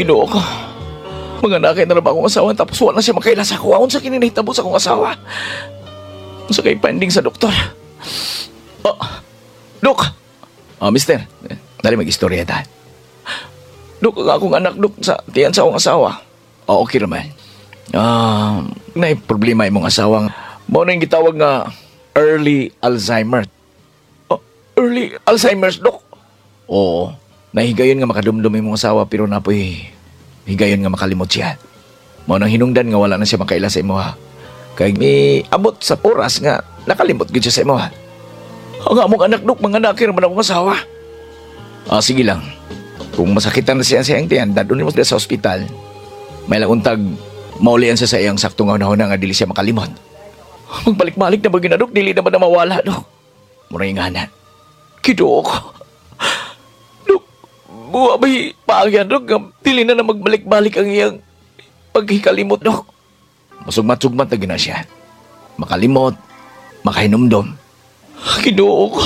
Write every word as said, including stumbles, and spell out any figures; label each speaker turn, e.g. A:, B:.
A: Ginoo ko. Manganakay na ba akong asawa tapos wala na siya makaila sa ako. Unsa kini nahitabo sa akong asawa? Unsa kay pending sa doktor? Oh, Dok! Oh, mister. Dali mag-istorya ta. Dok, ang akong anak, Dok, sa tiyan sa akong asawa. Oh, okay naman. Ah, naay problema imong asawa. Mao na yung gitawag nga early Alzheimer. Oh, early Alzheimer's, Dok. Oo. Nahigayon nga makadumdum imong asawa pero napoy higayon nga makalimot siya. Mao nang hinungdan nga wala na siya makaila sa imo ha. Kay may abot sa oras nga nakalimot gid siya sa imo ha. Ang among anak dok, manganakay man akong asawa. Ah, sige lang. Kung masakitan na siya sa iyang tiyan, dad-on mo sa ospital. May lang untag maulian siya sa iyang saktong nga nga dili siya makalimot. Magbalik-balik na ba ginadok, dili na ba na mawala, dok? Mura yung nga Ginoo ko. Dok, buwa ba'y paagyan, dok? Nga dili na na magbalik-balik ang iyang paghikalimot, dok. Masugmat-sugmat na gina siya. Makalimot, makahinumdom. Ginoo ko.